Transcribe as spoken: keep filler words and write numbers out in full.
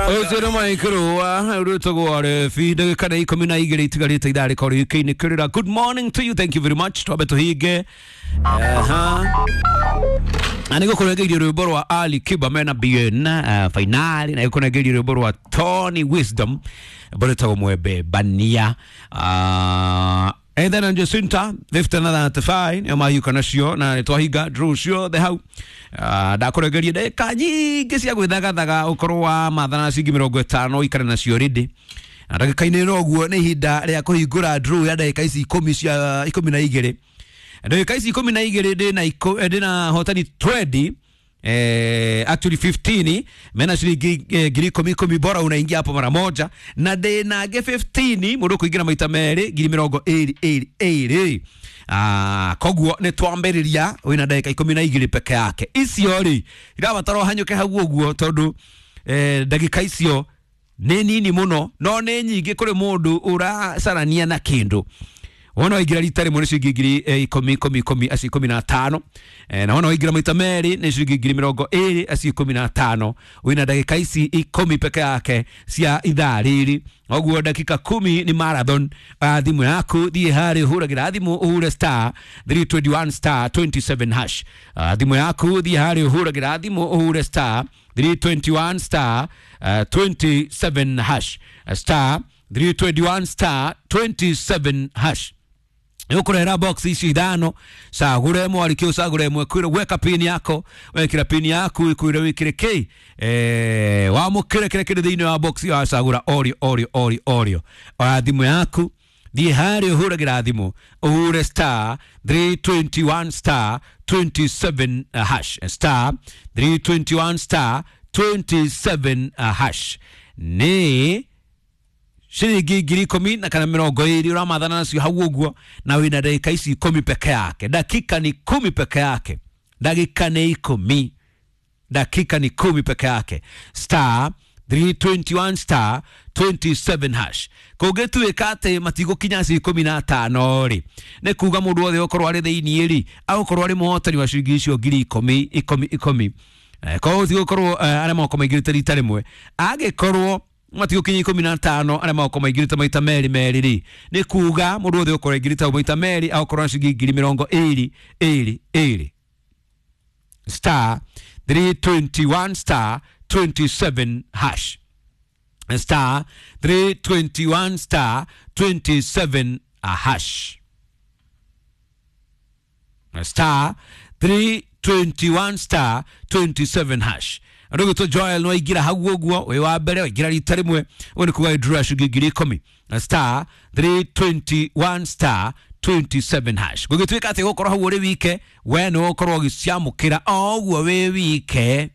Ũcio nĩ maikĩrũa rwĩtagwo rebi ndagĩka nĩ ikũmi na igĩrĩ itigarĩte ithaa rĩkorwo rĩkĩinĩkĩrĩra. Good morning to you, thank you very much. Twambe tũhinge. Aha. Na nĩ gũkũrengeirie rwĩmbo rwa Ali Kiba mena B N uh, finali, na gũkũrengeirie rwĩmbo rwa Tony Wisdom, rwĩmbo rwĩtagwo Mwembe Bania. uh, Ethan na Jacinta fifty na thirty-five nĩo mahiũka nacio, na nĩ twahinga draw ciothe hau. uh, ndakũrengeria ndagĩka nyingĩ cia gwĩthagathaga ũkorwo wa mathana ciringi mĩrongo ĩtano ikare nacio rĩndĩ, na ndagĩka-inĩ ĩno ũguo nĩ ihinda rĩa kũhingũra draw ya ndagĩka ici ikũmi cia ikũmi na igĩrĩ. Ndagĩka ici ikũmi na igĩrĩ ndĩna ikũ- eh, ndĩna hotani twenty, eh, actually fifteen mena ciringi eh, ngiri ikũmi ikũmi, bora unaingia hapo mara moja, na ndĩna angĩ fifteen mũndũ kũingĩra maita merĩ ngiri mĩrongo ĩrĩ ĩrĩ ĩrĩ. Ah, koguo nĩ twambĩrĩria wĩna ndagĩka ikũmi na igĩrĩ peke yake. Icio rĩ irabatara ũhanyũke hau ũguo tondũ eh, ndagĩka icio nĩ nini mũno no nĩ nyingĩ kũrĩ mũndũ ũracarania na kĩndũ. Wona waingĩra rita rĩmwe nĩ ciringi ngiri eh, ikũmi ikũmi ikũmi, acio ikũmi na tano. Eh, na wona waingĩra maita merĩ nĩ ciringi ngiri mĩrongo ĩrĩ, acio ikũmi na tano. Wĩna ndagĩka ici ikũmi peke yake cia ithaa rĩrĩ, ũguo dakika kumi ni marathon. uh, thimũ yaku thiĩ harĩ ũhũragĩra thimũ ũhure star three twenty-one star twenty-seven hash. uh, thimũ yaku thiĩ harĩ ũhũragĩra thimũ ũhure star three twenty-one star uh, twenty-seven hash, star three twenty-one star twenty-seven hash. Nĩũkũrehera box ici ithano, cagũre ĩmwe, arĩkĩ ũcagũre ĩmwe, kwĩre weka pin yako, wekĩra pin yaku ĩkwĩre wĩkĩre kĩ, eh, wamũkĩre kĩrĩa kĩrĩ thĩinĩ wa box ĩyo wacagũra orio orio orio orio. Oya thimũ yaku thiĩ harĩa ũhũragĩra thimũ ũhure star three twenty-one star twenty-seven hash, star three twenty-one star twenty-seven hash. Nĩ ciringi ngiri ikũmi na kana mĩrongo ĩrĩ ũramathana nacio hau ũguo, na wĩna ndagĩka ici ikũmi peke yake. Dakika ni kumi peke yake, dakika ni ikũmi, dakika ni kumi peke yake. Star three twenty-one star twenty-seven hash. Kũngĩtuĩka atĩ matigũkinya acio ikũmi na atano rĩ, nĩ kuga mũndũ wothe ũkorwo arĩ thĩiniĩ rĩ agũkorwo arĩ mũhotani wa ciringi icio ngiri ikũmi ikũmi ikũmi. Eh, koguo tigũkorwo eh, arĩa magokorwo maingĩrĩte rita rĩmwe, angĩkorwo matigũkinya ikũmi na atano, arĩa magokorwo maingĩrĩte maita merĩ merĩ rĩ, nĩ kuga mũndũ wothe ũkorwo aingĩrĩte hau maita merĩ agũkorwo na ciringi ngiri mĩrongo ĩrĩ ĩrĩ ĩrĩ. Star three twenty-one star twenty-seven hash, star three twenty-one star twenty-seven hash, star three twenty-one star twenty-seven hash. Andũ gwĩtwo Joel no waingĩra hau ũguo wĩ wa mbere, waingĩra rita rĩmwe, ũguo nĩ kuga withdraw ciringi ngiri ikũmi, star three twenty-one star twenty-seven hash. Gũgĩtuĩka atĩ gũkorwo hau ũrĩ wike, we nĩ ũgũkorwo ũgĩciamũkĩra o ũguo wĩ wike.